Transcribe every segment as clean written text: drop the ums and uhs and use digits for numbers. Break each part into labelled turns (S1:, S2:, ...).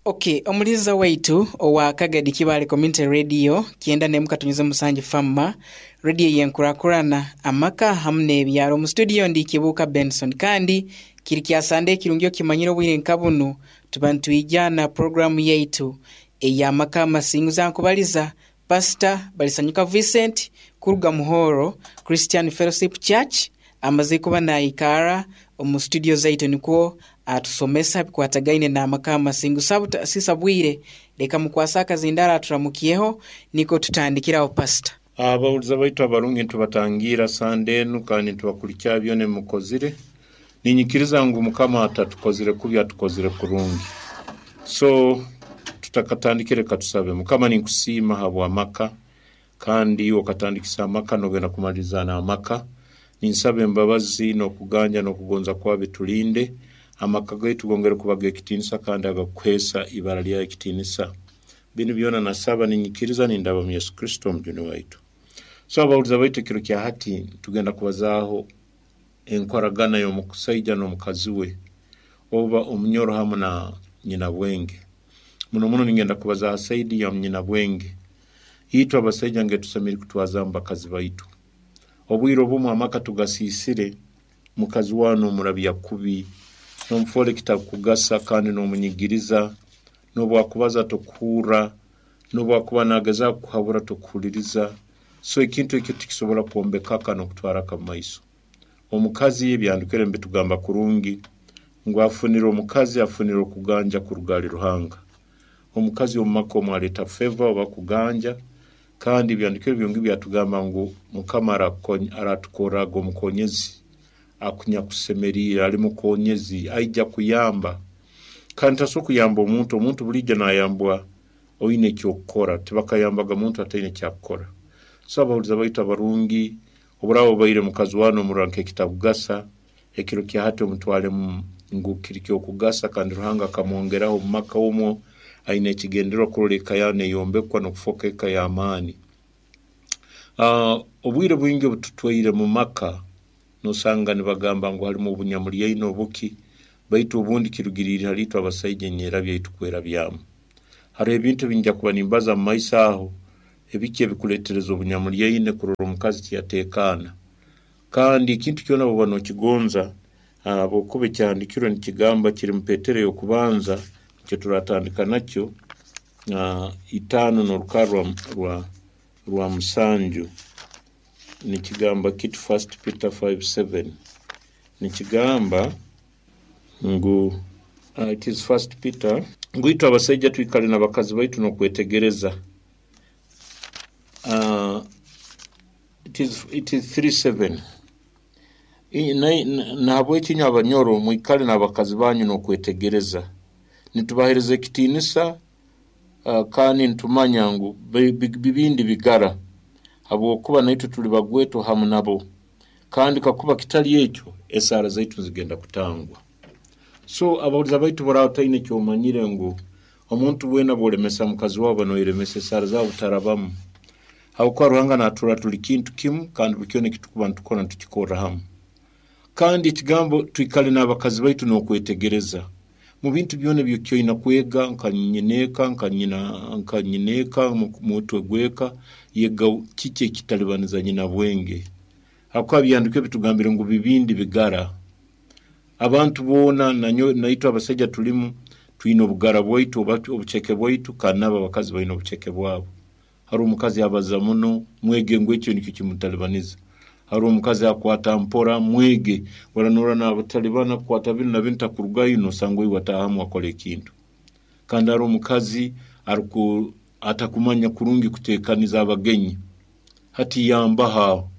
S1: Ok, omuliza waitu owa Kagadi Kibaale Community Radio 91.7 Famma, radio y'enkurakurana, amaka hamu n'ebyaro. Omu studio ndi Kibuuka Benson kandi kiri kya Sande ekirungi okimanyire obwire nka bunu tuba nitwija na puroguramu yaitu ey'amaka amasinguzi. Ankubaliza Pastor Balisanyuka Vincent kuruga Muhoro Christian Fellowship Church amaze kuba naikara omu studio zaitu nikwo atusomesa bikwatagaine n'amaka amasingu. Sisa bwire leka mukwase akazindaro aturamukyeho niko tutandikiraho Pastor.
S2: Abahuliza baitu abarungi nitubatangira Sande enu kandi nitubakulikya byona ebimukozire. Ninyikiriza ngu Mukama atatukozire kubi, atukozire kurungi. So tutakatandikire katusabe. Mukama, ninkusiima habw'amaka, kandi iwe okatandikisa amaka nogenda kumaliriza n'amaka. Ninsaba embabazi n'okuganja n'okugonza kwawe bitulinde. Amaka gaitu gongere kuba g'ekitiinisa kandi agakuheesa ibara lyawe ekitiinisa. Binu byona nasaba ninyikiriza nindaba mu Yesu Kristo omujuni waitu. So abahuliza baitu, ekiro kya hati tugenda kubazaaho enkoragana y'omusaija n'omukazi we oba omunyoro hamu na nyina bwenge. Muno muno ningenda kubaza ha saidi ya nyina bwenge. Itwe abasaija nge tusemeriire kutwazaamu bakazi baitu. Obwire obumu amaka tugasiisire, mukazi wawe n'omurabya kubi, n'omufoora ekitakugasa kandi n'omunyigiriza, n'obwakubaza tokuhurra, n'obwakuba nagezaaho kukuhabura tokuhuliriza. So ekintu ekyo tikisobora kwombeka aka n'okutwara aka mu maiso. Omukazi ebyandikire nibitugamba kurungi ngu afunire omukazi afunire okuganja kuruga hali Ruhanga. Omukazi omu maka omu aleeta favor oba kuganja, kandi ebyandikire byongi byatugamba ngu Mukama aratukorraga omukonyezi akunyakusemeriire, ali mukonyezi, aija kuyamba. Kandi tasobora kuyamba omuntu, omuntu buliijo nayambwa oine eky'okukora, tibakayambaga muntu ataine ekyakukora. So abahuliza baitu abarungi, oburaaba obaire mukazi wawe nomurora nk'ekitakugasa, ekiro kya hati omutwalemu ngu kiri ky'okugasa kandi Ruhanga akamwongeraho omu maka omwo, aine ekigendererwa kurora eka yawe neyombekwa n'okufooka eka y'amaani. Obwire bwingi obututwaire mu maka, nosanga nibagamba ngu halimu obunyamulyaine obuki, baitu obundi kirugiriire hali itwe abasaija enyerabya ei tukwerabyamu. Haroho ebintu ebi nyija kuba nimbaza mu maiso aho, ebiki ebikuleetereza obunyamulyaine kurora omukazi tiyateekaana. Kandi ekintu kyona bw'oba nokigonza, habwokuba ekyahandiikirwe nikigamba kiri mu Petero ey'okubanza, nikyo turatandika nakyo, itaano n'orukarra rwa musanju, nikigamba kiti First Peter 5:7 nikigamba ngu it is First Peter ngu itwe abasaija twikale n'abakazi baitu n'okwetegereza. It is 3:7. Nahabweki inywe abanyoro mwikale n'abakazi banyu n'okwetegereza. Nitubaheereza ekitiinisa kandi nitumanya ngu bibindi bigara, habwokuba naitwe tuli bagwetwa hamu nabo. Kandi kakuba kitali ekyo, esaara zaitu nizigenda kutangwa. So abahuliza baitu boraba otaine ekyomanyire ngu omuntu weena bwolemesa mukazi wawe oba noyeremesa esaara zawe butarabamu. Habwokuba Ruhanga naturora tuli kintu kimu kandi buli kyona ekitukuba nitukora nitukikorra hamu. Kandi ekigambo twikale n'abakazi baitu n'okwetegereza. Mu bintu byona ebyokyoina kwega nka nyineeka, nka nyina, nka nyineeka, mutwe gw'eka, yega kiki ekitalibaniza nyina bwenge. Habwokuba ebyahandikirwe bitugambire ngu bibindi bigara. Abantu boona nanyowe naitwe abasaija tulimu, twine obugara bwaitu oba obuceke bwaitu kandi n'abo abakazi baine obuceke bwabo. Haroho omukazi abaza muno, mwege ngu ekyo nikyo kimutalibaniza. Haroho omukazi akwata mpora, mwege. Ora norora natalibana kukwata binu na binu takurugayo nosanga oiwe ataahamu akora ekintu. Kandi haroho omukazi aruku atakumanya kurungi kutekaniza abagenyi. Hati yambaho aho.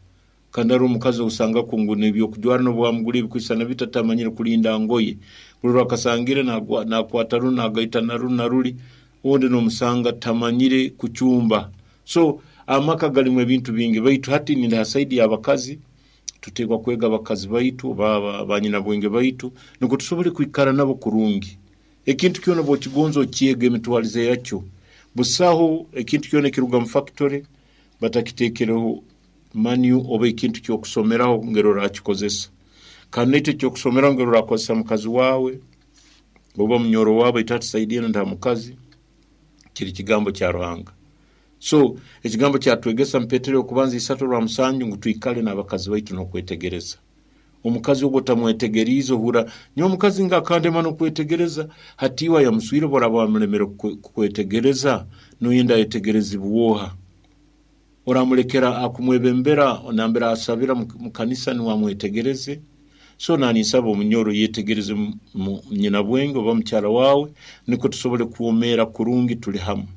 S2: Kandi haroho omukazi ousangaku ngu n'ebyokujwara n'obwamugura ebikwisana biti atamanyire kulinda ngoye. Buli rwakasangire nakwata runu nagaita na runu na ruli, ondi nomusanga tamanyire kucumba. So amaka galimu ebintu bingi, baitu hati nindi ha saidi y'abakazi, tutekwa kwega abakazi baitu oba banyinabwenge baitu nukwo tusobole kwikara nabo kurungi. Ekintu kyona obwokigonza okyega emitwarize yakyo. Busaho ekintu kyona ekiruga mu factory batakitekereho manual oba ekintu ky'okusomeraho ngeri orakikozesa. Kandi naitwe eky'okusomeraho ngeri orakozesa mukazi wawe. Oba munyoro wawe baitu hati saidi enu nta mukazi, kiri kigambo kya Ruhanga. So ekigambo kyatwegesa mu Petero okubanza 3:7 ngu twikale n'abakazi baitu n'okwetegereza. Omukazi ogwo otamwetegeriize ohurra nyowe omukazi nga akandema n'okwetegereza, hati iwe ayamuswire obu oraaba wamulemere kukwetegereza, noyenda ayetegerezibwe oha? Oramulekera akumwebembera nambere asabira mu kanisa nuwe amwetegereze? So naninsaba omunyoro yetegereze nyinabwenge oba mukyara wawe nukwo tusobole kwomeera kurungi tuli hamu.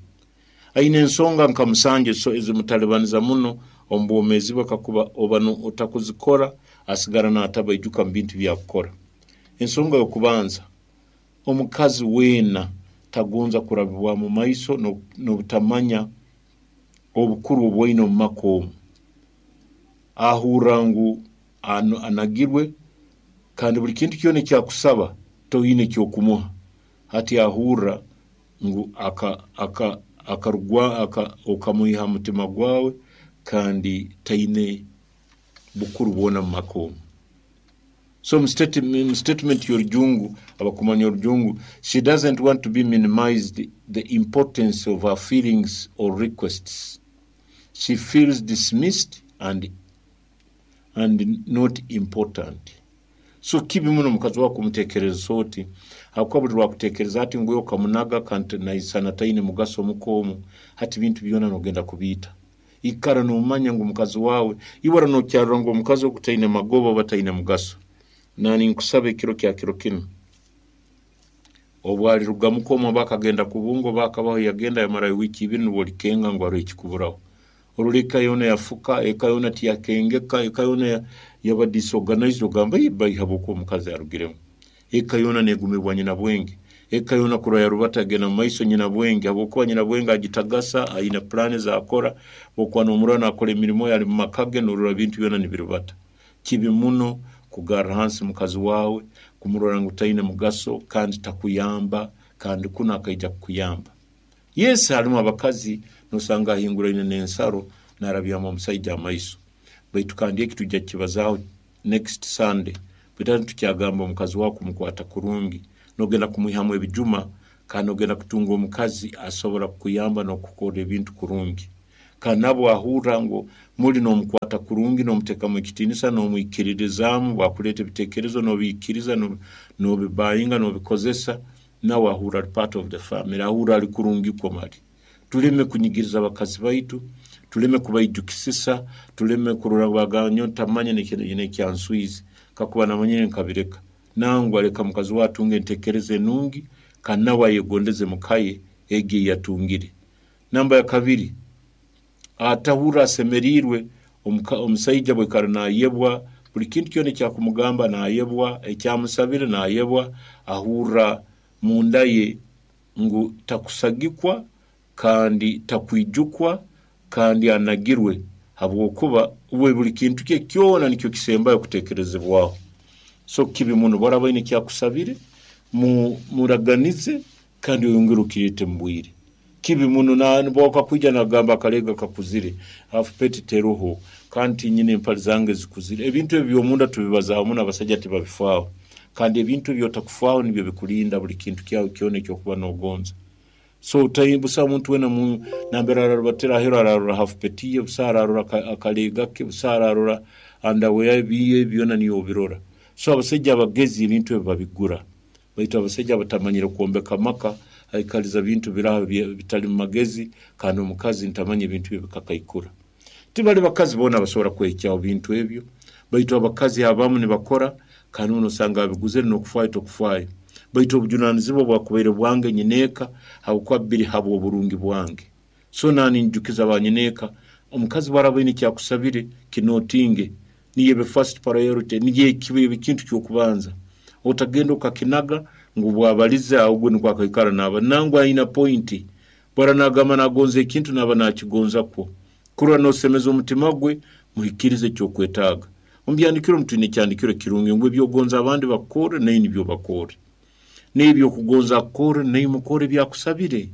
S2: Aine ensonga nka musanju ezimutalibaniza muno omu bwomeezi bwe kakuba oba otakuzikora asigara natabaijuka mu bintu byakukora. Ensonga y'okubanza, omukazi weena tagonza kurabibwa mu maiso n'obutamanya obukuru obwaine omu maka omu. Ahurra ngu anagirwe kandi buli kintu kyona ekyakusaba toine ekyokumuha. Hati ahurra ngu okamwiha ha mutima gwawe kandi taine bukuru bwona mu maka omu. So mu statement y'orujungu, abakumanya orujungu, she doesn't want to be minimized the importance of her feelings or requests. She feels dismissed and not important. So kibi muno omukazi wawe kumutekereza oti, habwokuba buli lwakutekereza ati ngu okamunaga kandi naisana taine mugaso omuka omu, hati bintu byona nogenda kubiita. Ikara nomanya ngu mukazi wawe, iwe nokyarora ngu omukazi ogu taine magoba oba taine mugaso. Nani nkusaba ekiro kya kiro kinu, obu alirugamu omu oba akagenda kubunga oba akabaho yagenda yamarayo wiiki ibiri nubwo olikenga ngu haroho ekikuburaho. Orora eka yoona yafuka, eka yoona tiyakengeka, eka yoona yaba disorganized, ogamba bai habwokuba omukazi arugiremu. Eka yoona negumibwa nyinabwenge. Eka yoona kurora yarubata agenda mu maiso nyinabwenge, habwokuba nyinabwenge agitagasa, aine pulaani ezakora, bwokuba nomurora nakora emirimo ye ali mu maka ge, norora ebintu byona nibirubata. Kibi muno kugarra hansi mukazi wawe, kumurora ngu taine mugaso kandi takuyamba, kandi kunu akaija kukuyamba. Yes, harimu abakazi nosanga ahinguraine n'ensaro narabyamu omusaija amaiso. Baitu kandi eki tujja kukibazaaho next Sunday. Baitu hati tukyagamba omukazi wawe kumukwata kurungi, nogenda kumwihamu ebijuma kandi nogenda kutunga omukazi asobora kukuyamba n'okukorra ebintu kurungi. Kandi nabwo ahurra ngu muli nomukwata kurungi, nomutekamu ekitiinisa, nomwikiririzaamu, bwakuleeta ebitekerezo nobiikiriza, nobibayinga, nobikozesa, nawe ahurra ali part of the family, ahurra ali kurungi kwo mali. Tuleme kunyigiriza abakazi baitu, tuleme kubaijukisisa, tuleme kurora bagamba nyowe ntamanya nekyanswize, kakuba namanyire nkabireka. Nangwa leka mukazi wawe atunge entekereza enungi kandi nawe ayegondeze mukaye egi eyatungire. Namba ya kabiri, atahurra asemeriirwe omusaija bwaikara nayebwa, buli kintu kyona ekyakumugamba nayebwa, ekyamusabire nayebwa, ahurra munda ye ngu takusagikwa kandi takwijukwa kandi anagirwe, habwokuba uwe buli kintu kye kyona nikyo kisembayo kutekerezebwaho. So kibi muno bwaraba aine ekyakusabire, muraganize kandi oyongere okireete mu bwire. Kibi muno bwakakwija nagamba akalega kakuzire, half peti teroho, kandi tinyine empali zange zikuzire. Ebintu ebyo by'omunda tubibazaaho muno, abasaija tibabifaaho. Kandi ebintu ebi otakufaaho nibyo bikulinda buli kintu kyawe kyona ekyokuba nogonza. So busaho muntu weena nambere ararubatira aheeru ararora half peti ye, busaho ararora akalega ke, busaho ararora underwear ye, byona niiwe obirora. So abasaija abagezi ebintu ebi babigura. Baitu abasaija abatamanyire kwombeka amaka, aikaliza bintu biraha bitali mu magezi, kandi omukazi ntamanya ebintu bye bikakaikura. Tibali bakazi boona abasobora kwehikyaho bintu ebyo, baitu abakazi abamu nibakora kandi muno osanga abiguzire n'okufaayo tokufaayo. Baitu obujunanizibwa bwakubaire bwange nyineeka habwokuba biri habw'oburungi bwange. So nani njukiza banyineeka, omukazi bwaraba aine ekyakusabire kinotinge, niyo ebe first priority, niyo kibe ekintu ky'okubanza. Otagenda okakinaga ngu bwabalize aho gwe nukwo akaikara naba nangwa aina pointi. Bwara nagamba nagonza ekintu naba nakigonza kwo. Kurora nosemeza omutima gwe, muhikirize ekyokwetaaga. Omu byandikiro mutwine ekyandikiro ekirungi ngu ebyogonza abandi bakukorre naiwe nibyo bakorre. N'ebyokugonza akukorre naiwe mukorre ebyakusabire.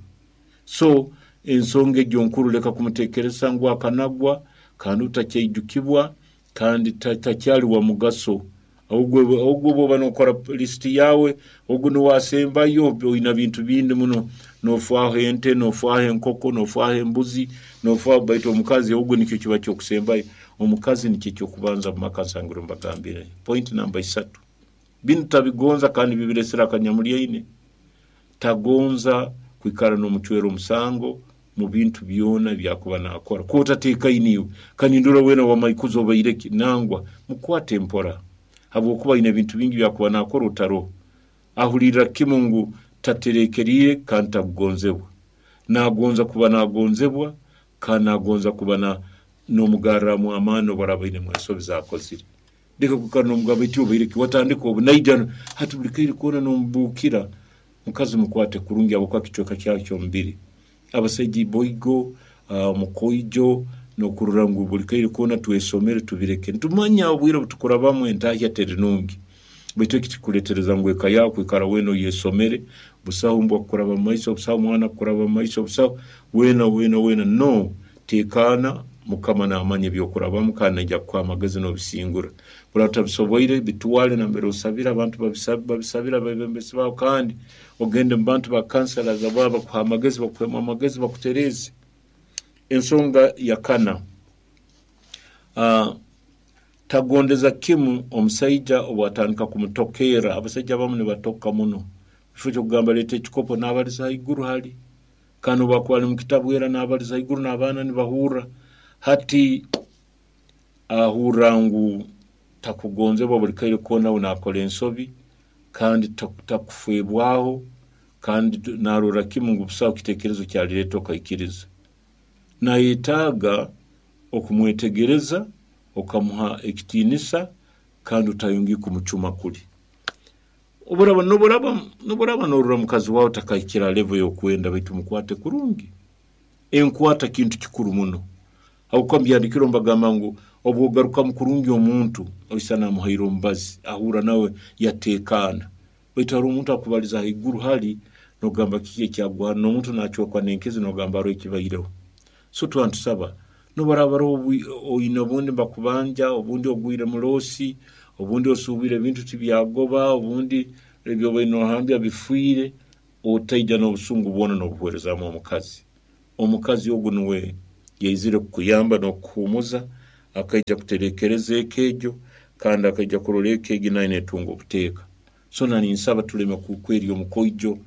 S2: So ensonga egyo nkuru leka kumutekereza ngu akanagwa kandi otakyaijukibwa kandi takyali wa mugaso. Ogwo bwoba nokora lisiti yawe, ogu nuwe asembayo. Oina bintu bindi muno, nofwaho ente, nofwaho enkoko, nofwaho embuzi, nofwaho, baitu omukazi ogwo nikyo kiba kyokusembayo. Omukazi nikyo ekyokubanza mu maka. Nsangire mbagambire point namba 3. Binu tabigonza kandi bibiresera akanyamulyaine. Tagonza kwikara n'omucwera omusango mu bintu byona ebyakuba nakora. Kuba otatekaine iwe, kandi ndora wena wamaikuzi obaireki, nangwa mukwate mpora, habwokuba aine ebintu bingi byakuba nakora otaroho. Ahulirra kimu ngu taterekeriire kandi takugonzebwa. Nagonza kuba nagonzebwa kandi nagonza kuba n'omugarramu amaani obu araaba ainemu ensobi zakozire. Leka kwikara n'omugamba eti obaireki, watandika obu naija hati buli kaire koona n'omubuukira. Mukazi mukwate kurungi habwokuba kicweka kyawe ky'omubiri. Abasaija iboigo, omukoijo, n'okurora ngu buli kaire koona twesomere tubireke. Nitumanya obwire obutukurabamu entahya teri nungi, baitu eki kikuletereza ngu eka yawe kwikara weena oyesomere, busaho mbwa kukuraba mu maiso, busaho mwana kukuraba mu maiso, busaho weena weena weena. No tekaana, Mukama namanya ebyokurabamu kandi naija kukuha amagezi n'obisingura. Buraba otabisoboire, bitwale nambere osabira, abantu babisabira abebembezi bawe, kandi ogende mu bantu ba counselors abo bakuha amagezi, bakuhemu amagezi, bakutereeze. Ensonga ya kana, tagondeza kimu omusaija obwatandika kumutokeera. Abasaija abamu nibatoka muno, kifo kyokugamba leeta ekikopo nabaliza haiguru hali, kandi obwakuba ali mu kitabu era nabaliza haiguru n'abaana nibahurra. Hati ahurra ngu takugonzebwa buli kaire koona, we nakora ensobi kandi takufebwaho, kandi narora kimu ngu busaho kitekerezo kyalireeta okaikiriza. Nayetaaga okumwetegereza, okamuha ekitiinisa kandi otayongeye kumucuma kuli. Noburaba norora mukazi wawe takahikira level y'okwenda, baitu mukwate kurungi. Enkwata kintu kikuru muno. Habwokuba mubyandikiro mbagamba ngu obwogarukamu kurungi omuntu, oisa namuhaire omubazi, ahurra nawe yateekaana. Baitu haroho omuntu akubaliza haiguru hali, nogamba kiki ekyagwa, n'omuntu nacwekwa n'enkizi nogamba haroho ekibaireho. So tuba nitusaba, nobaraba haroho oine obundi nibakubanja, obundi ogwire mu loosi, obundi osuubwire ebintu tibyagoba, obundi ebyobaire nohambya bifiire, otaija n'obusungu bwona n'obuhwerezamu omukazi. Omukazi ogu nuwe yaizire kukuyamba n'okukuhumuza, akaija kuterekereza eka egyo, kandi akaija kurora eka egi nayo netunga obuteeka. So naninsaba tuleme kwerya omukoijo.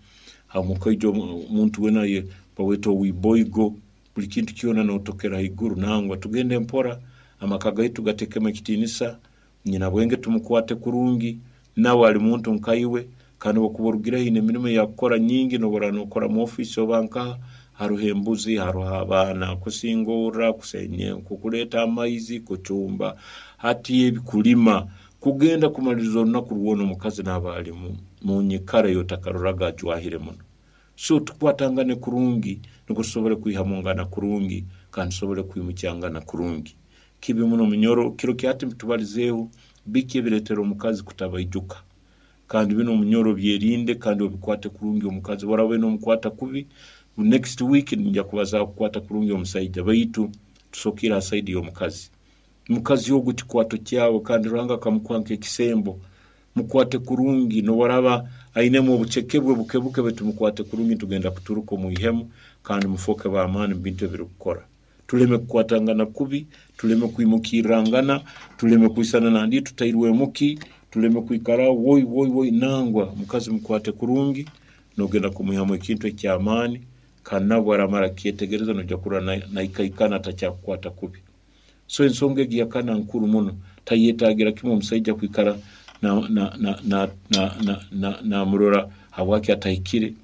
S2: Omukoijo omuntu wena baweta owiboigo, buli kintu kyona notokera haiguru. Nangwa tugende mpora, amaka gaitu gatekemu ekitiinisa, nyina bwenge tumukwate kurungi, nawe ali muntu nkaiwe, kandi obwokuba orugireho aine emirimo eyakukora nyingi, nobora nokora mu ofiisi oba nkaha, haroho embuzi, haroho abaana, kusingorra, kuleeta amaizi, kucumba, hati ebikulima, kugenda kumaliriza orunaku rwona omukazi naaba ali mu nyikara ey'otakaroraga ajwahire muno. So tukwatangane kurungi nukwo tusobole kwihamungana kurungi kandi tusobole kwimukyangana kurungi. Kibi muno munyoro, kiro kyati tubalizeeho biki ebiretera omukazi kutabaijuka. Kandi binu omunyoro byerinde kandi obikwate kurungi omukazi. Bworaba nomukwata kubi, next week ninja kubazaho kukwata kurungi omusaija, baitu tusokere ha side y'omukazi. Mukazi ogu kikwato kyawe kandi Ruhanga akamukuha nk'ekisembo. Mukwate kurungi, nobaraba ainemu obuceke bwe buke buke, baitu mukwate kurungi, tugenda kuturuka omwihemu kandi mufoke b'amaani mu bintu ebirikukora. Tuleme kukwatangana kubi, tuleme kwimukirrangana, tuleme kwisana nandi tutairwemuki, tuleme kwikara woi woi woi, nangwa mukazi mukwate kurungi, nogenda kumwihamu ekintu eky'amaani, kandi nabwo aramara kukyetegereza noija kurora naikaikana atakyakukwata kubi. So ensonga egi yakana nkuru muno, tayetagira kimu omusaija kwikara namurora habwaki atahikire,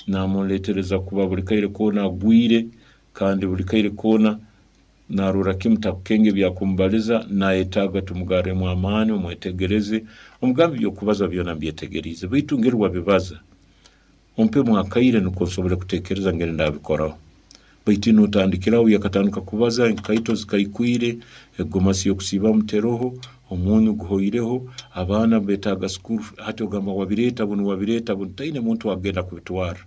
S2: namuletereza kuba buli kaire koona agwire, kandi buli kaire koona narora kimu takukenga ebyakumubaliza, nayetaaga tumugarremu amaani, omwetegereze, omugambe ebyokubaza byona mbyetegeriize, baitu ngeri wabibaza, ompemu akaire nukwo nsobole kutekereza ngeri ndabikoraho. Baitu notandikiraho yakatandika kubaza, enkaito zikaikwire, egomasi y'okusiibamu teroho, omunyu guhoireho, abaana betaaga school, hati ogamba wabireeta bunu wabireeta bunu, taine muntu agenda kubitwara.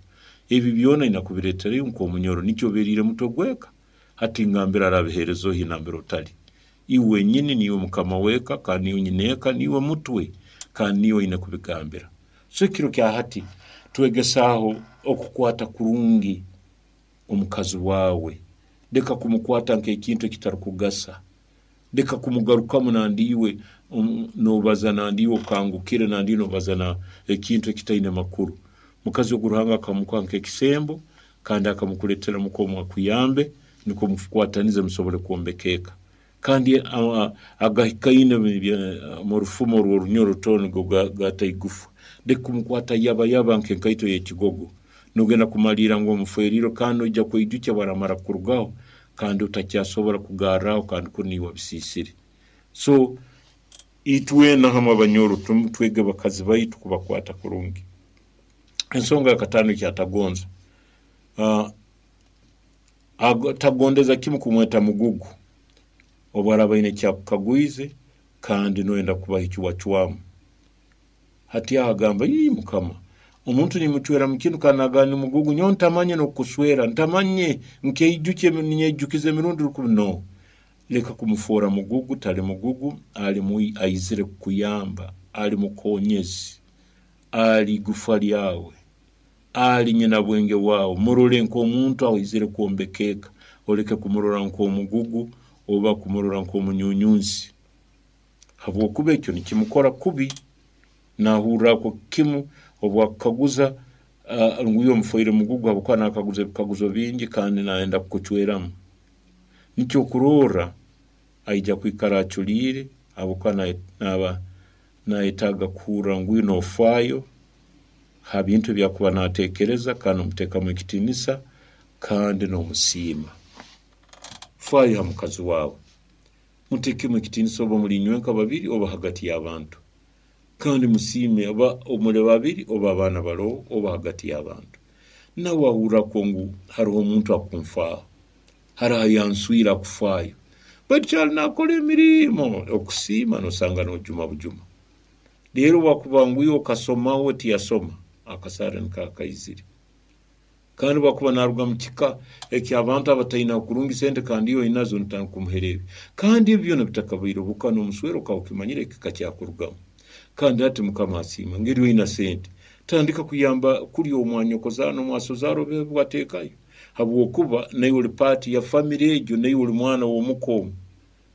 S2: Ebi byona aina kubireeterayo nk'omunyoro, nikyo oberiire mutwe gw'eka. Hati ngambira arabiheereza ohi nambere otali. Iwe wenyini niiwe mukama w'eka, kandi niiwe nyineeka, niiwe mutwe, kandi niiwe oine kubigambira. So ekiro kya hati twegesaaho okukwata kurungi omukazi waawe. Leka kumukwata nk'ekintu ekitarukugasa. Leka kumugarukamu nandi iwe nobaza nandi iwe okangukire nandi iwe nobaza na ekintu ekitaine makuru. Mukazi ogu Ruhanga akamukuha nk'ekisembo kandi akamukuleetera mukwo akuyambe nukwo mukwatanize musobole kwombeka eka. Kandi agahikaine mu rufumo rw'orunyoro rutono nigo gata igufa. Leka kumukwata yaba yaba nk'enkaito y'ekigogo. Nogenda kumaliira ngu omuferiirwe kandi noija kweijukya bwaramara kurugaho kandi otakyasobora kugarraho kandi kunu niiwe wabisiisire. So itwena hamu abanyoro twege bakazi baitu kubakwata kurungi. Ensonga yakataano ekyatagonza, tagondeza kimu kumweta mugugu obu araaba aine ekyakukagwize kandi noyenda kubaha eki wacwamu. Hati aho agamba, ii Mukama, omuntu nimucwera mu kinu kandi nagamba ni mugugu, nyowe ntamanye n'okukuswera, ntamanye nkeijukye ninyeijukiza emirundi rukumi. No, leka kumufoora mugugu, tali mugugu, ali aizire kukuyamba, ali mukonyezi, ali igufa lyawe, ali nyina bwenge wawe. Murole nk'omuntu aizire kwombeka eka, oleke kumurora nk'omugugu oba kumurora nk'omunyunyunzi, habwokuba ekyo nikimukora kubi. Nahurra kimu obwakukaguza ngu iwe omufoire mugugu habwokuba nakaguza ebikaguzo bingi kandi nayenda kukucweramu. Nikyo okurorra aija kwikara aculiire habwokuba naaba nayetaaga kuhurra ngu iwe nofaayo ha bintu ebyakuba nateekereza kandi nomuteekamu ekitiinisa kandi nomusiima. Faayo ha mukazi waawe, muteekemu ekitiinisa oba muli inywenka babiri oba hagati y'abantu. Kandi musiime oba muli babiri oba abaana baroho oba hagati y'abantu. Nawe ahurra ngu haroho omuntu akunfaaho, haroho ayanswire akufaayo. Baitu kyali nakora emirimo okusiima nosanga nojuma bujuma. Rero bwakuba ngu iwe okasoma we tiyasoma, akasaara nikaba kaizire. Kandi bwakuba naruga mu kika eky'abantu abataina kurungi sente kandi iwe oinazo notandika kumuhera ebi. Kandi ebi byona bitakabaire obuka n'omuswera okaba okimanyire ekika kyakurugamu. Kandi hati Mukama asiima ngeri oina sente, tandika kuyamba kuli omwanyokozaara n'omwasozaara obe bwateekayo, habwokuba naiwe oli paati ya famire egyo, naiwe oli mwana w'omuka omu.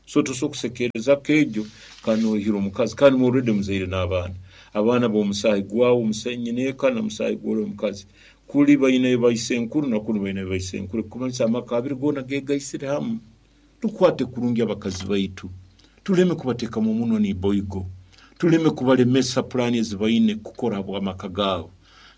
S2: So tosobora kusekeereza ka egyo kandi nohira omukazi kandi already muzaire n'abaana. Abaana b'omusaahi gwawe nyineeka na musaahi gw'oli omukazi. Kuli baine baisenkuru na kunu baine baisenkuru, ekikumanyisa amaka abiri goona geegaisire hamu. Tukwate kurungi abakazi baitu, tuleme kubateekamu omunwa n'iboigo, tuleme kubalemesa pulaani ezi baine kukora habw'amaka gaabo,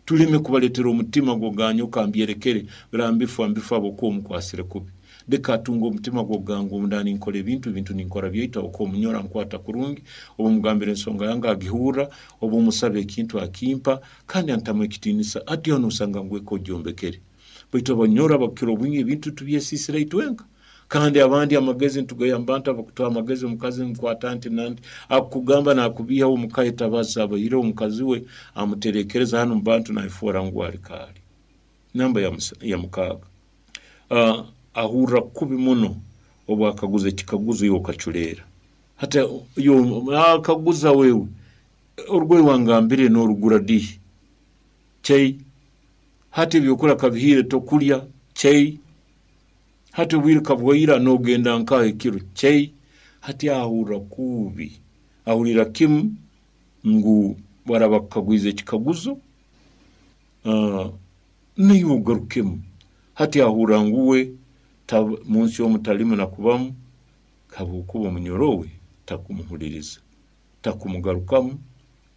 S2: tuleme kubaleetera omutima gw'oganyoka mbyerekere birambifa mbifa habwokuba omukwasire kubi. Leka atunge omutima gw'okugamba ngu nda ninkora ebintu, ebintu ninkora byaitu habwokuba omunyoro ankwata kurungi, obu mugambira ensonga yange agihurra, obu musaba ekintu akimpa kandi antamu ekitiinisa. Hati aho nosanga ngu eka ogyombekere. Baitu abanyoro abakukira obwingi ebintu tubyesiisira itwenka. Kandi abandi amagezi nitugaiha mu bantu abakutuha amagezi, omukazi nkwata nti nanti akukugamba nakubiihaho omuka etabaza abaire omukazi we amuterekereza hanu mu bantu nayefoora ngu ali kaali. Namba ya mukaaga, ahurra kubi muno obu akaguza ekikaguzo iwe okaculeera. Hati akaguza wewe orugoye wangambire norugura dihi? Chei. Hati ebyokulya kabihiire tokulya? Chei. Hati obwire kabwaira nogenda nkaha ekiro? Chei. Hati ahurra kubi, ahurira kimu ngu bwaraba akukagwize ekikaguzo naiwe ogarukemu. Hati ahurra ngu we munsi omu talimu nakubamu habwokuba omunyoro we takumuhuliriza, takumugarukamu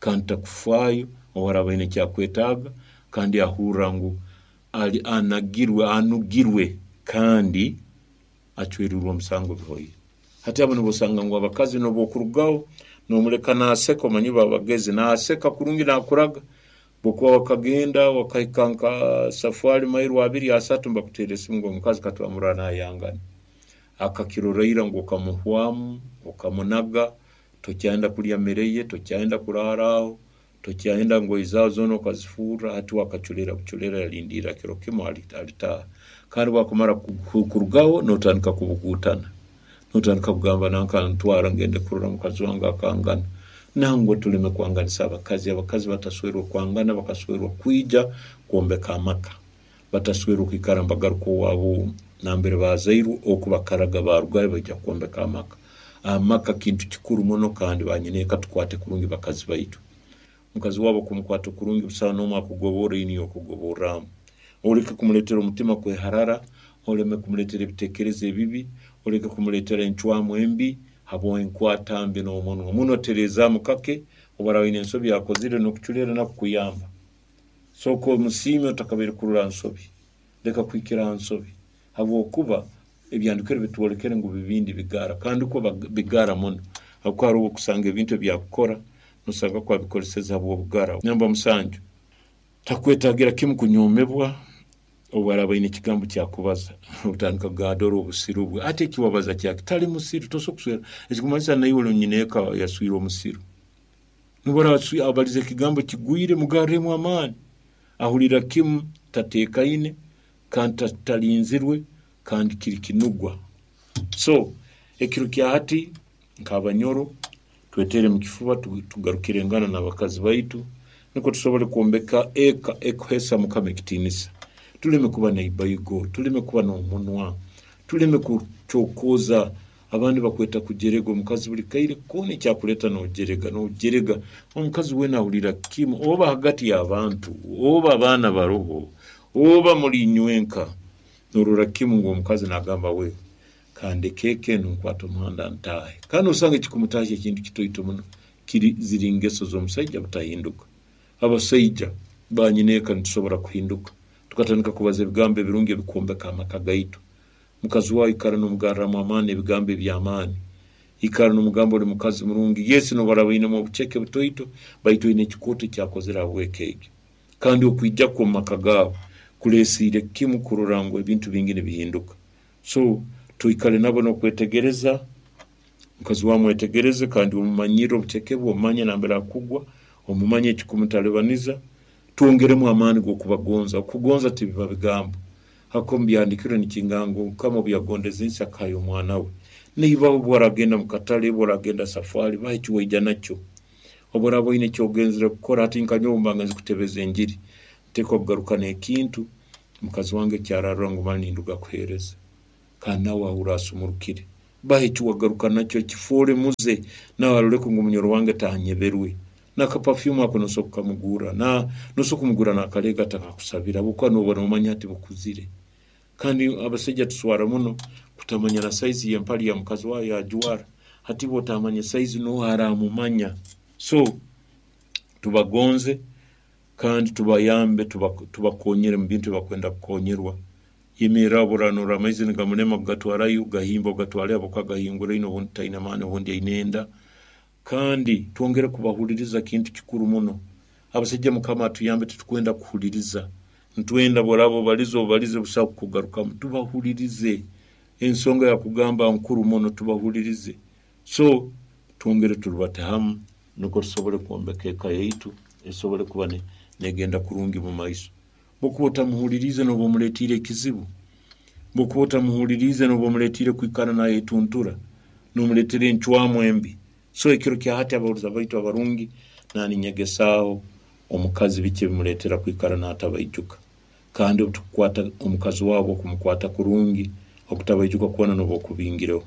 S2: kandi takufaayo obu araaba aine ekyakwetaaga, kandi ahurra ngu ali anagirwe, anugirwe kandi acwerirwe omusango bihoire. Hati abo nibo osanga ngu abakazi nobu okurugaho nomuleka naseka, omanyi babagezi, naseka kurungi nakuraga, bwokuba wakagenda wakahika nka safari mairo abiri asatu nibakuteera esimu ngu omukazi katwamurora nayangana. Akakiroraira ngu okamuhwamu, okamunaga, tokyayenda kulya mere ye, tokyayenda kuraara aho, tokyayenda ngoye zaawe zoona okazifurra, hati wakaculeera buculeera yalindiira kiro kimu alitaaha. Kandi bwakumara kurugaho notandika kubuguutana. Notandika kugamba nanka ntwara ngende kurora mukazi wange akangana. Nangwa tuleme kwanganisa abakazi. Abakazi bataswerwa kwangana, bakaswerwa kwija kwombeka amaka. Bataswerwa kwikara nibagaruka owaabo nambere bazairwe, oku bakaraga barugayo baija kwombeka amaka. Amaka kintu kikuru muno, kandi banyineeka tukwate kurungi bakazi baitu. Mukazi waabo kumukwata kurungi, busaho n'omu akugoborra, niyo okugoborramu. Oleke kumuleetera omutima kweharara, oleme kumuleetera ebiteekerezo ebibi, oleke kumuleetera encwamu embi habw'enkwata mbi n'omunwa. Muno tereezaamu kake, obu araaba aine ensobi akozire n'okuculeera nakukuyamba. Sooka omusiime otakabaire kurora nsobi. Leka kuhikira ha nsobi, habwokuba ebyandikirwe bitwolekere ngu bibindi bigara, kandi kwo bigara muno, habwokuba haroho okusanga ebintu ebyakukora nosanga kwabikoleseza habw'obugara. Namba 7, takwetagira kimu kunyoomebwa obu araaba aine ekigambo kyakubaza. Otandika kugamba dora obusiru bwe, ati ekiwabaza kyaki? Tali musiru, tosobola kuswera. Ekikumanyisa naiwe oli nyineeka yaswire omusiru. Nobu abalize ekigambo kigwire, mugarremu amaani. Ahulira kimu tateekaine kandi talinzirwe kandi kiri kinugwa. So ekiro kya hati nk'abanyoro twetere mu kifuba, tugarukire engana n'abakazi baitu nukwo tusobole kwombeka eka ekuheesa Mukama ekitiinisa. Tuleme kuba n'eibaigo, tuleme kuba n'omunwa, tuleme kucokooza. Abandi bakweta kujerega omukazi buli kaire koona, ekyakuleeta nojerega nojerega. Omukazi weena ahulira kimu, oba hagati y'abantu, oba abaana baroho, oba muli inywenka, norora kimu ngu omukazi nagamba we kandeke eka enu nkwate omuhanda ntaahe. Kandi nosanga ekikumutaahya ekintu kitoito muno, kiri ziri ngeso z'omusaija butahinduka. Abasaija banyineeka nitusobora kuhinduka tukatandika kubaza ebigambo ebirungi ebikwombeka amaka gaitu. Mukazi wawe ikara nomugarramu amaani, ebigambo eby'amaani. Ikara nomugamba oli mukazi murungi. Yes, nobu araaba ainemu obuceke butoito, baitu oine ekikooto ekyakozere habw'eka egyo. Kandi okwija kwe omu maka gaawe kuleesiire kimu kurora ngu ebintu bingi nibihinduka. So twikale nabo n'okwetegereza, mukazi wawe mwetegereze kandi omumanyirre obuceke bwe, omumanye nambere akugwa, omumanye ekikumutalibaniza. Twongeremu amaani g'okubagonza. Okugonza tibiba bigambo. Hako omu byandikirwe nikingamba ngu Mukama obu yagondeze ensi akahayo omwana we. Naiba obu oragenda mu katale, obu oragenda safari, baha eki waija nakyo. Obu oraaba oine eki ogenzere kukora, hati nka nyowe obu mba ngenze kutebeza enjiri, nteekwa kugaruka n'ekintu mukazi wange eki ararora ngu mali ninduga kuheereza. Kandi nawe ahurra asumurukire. Baha eki wagaruka nakyo, kifoole muze, nawe aroleke ngu munyoro wange tanyeberwe. N'akapafyumu ako nosobora kukamugurra, nosobora kumugurra n'akaleega atakakusabira habwokuba nooba noomanya hati bukuzire. Kandi abasaija tuswara muno kutamanya na saizi y'empali ya mukazi waawe yajwara. Hati iwe otamanya saizi nooha aramumanya. So tubagonze kandi tubayambe, tubakonyere mu bintu ebi bakwenda kukonyerwa. Yemerra obu oranorora amaizi nigamulema kugatwarayo, gahimba ogatwale habwokuba gahinguraine obundi taine maani obundi aine enda. Kandi twongere kubahuliriza kintu kikuru muno. Abasaija Mukama atuyambe, titukwenda kuhuliriza. Nitwenda bworaaba obalize obalize busaho kukugarukamu. Tubahulirize. Ensonga yakugamba nkuru muno, tubahulirize. So twongere turubate hamu nukwo tusobole kwombeka eka yaitu esobole kuba negenda kurungi mu maiso. Bwokuba otamuhuliriize nooba omuletiire ekizibu. Bwokuba otamuhuliriize nooba omuletiire kwikara nayetuntura, nomuleetera encwamu embi. So ekiro kya hati abahuliza baitu abarungi, naninyegesaaho omukazi biki ebimuleetera kwikara natabaijuka. Kandi obu tukukwata omukazi wawe okumukwata kurungi, okutabaijuka kwona nooba okubingireho.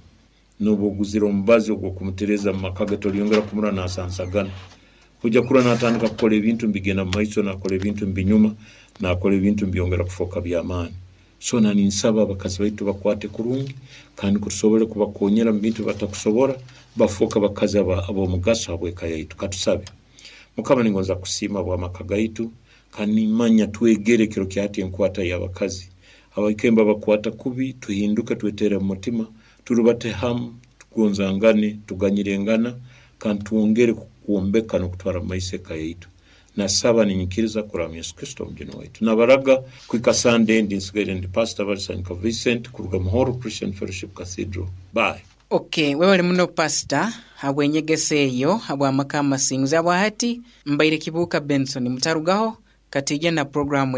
S2: Nooba oguzire omubazi ogw'okumutereeza mu maka ge, tolyongera kumurora nasansagana. Oija kurora natandika kukora ebintu nibigenda mu maiso, nakora ebintu nibinyuma, nakora ebintu nibyongera kufooka by'amaani. So naninsaba abakazi baitu tubakwate kurungi kandi nukwo tusobole kubakonyera mu bintu ebibatakusobora, bafooke bakazi ab'omugaso habw'eka yaitu. Katusabe. Mukama, ningonza kukusiima habw'amaka gaitu, kandi nimanya twegere ekiro kya hati enkwata y'abakazi. Abaikembe abakwata kubi, tuhinduke twetere mu mutima, turubate hamu, tugonzangane, tuganyirengana, kandi twongere kwombeka n'okutwara mu maiso eka yaitu. Nasaba ninyikiriza kuraba mu Yesu Kristo Omujuni waitu. Nabaraga kuhika Sande endi nsigaire ndi Pastor Balisanyuka Vincent kuruga Muhoro Christian Fellowship Cathedral. Bye.
S1: Ok, webale muno Pastor habw'enyegesa eyo habw'amaka amasinguzi. Habwahati mbaire Kibuuka Benson. Mutarugaho, katiija na puroguramu.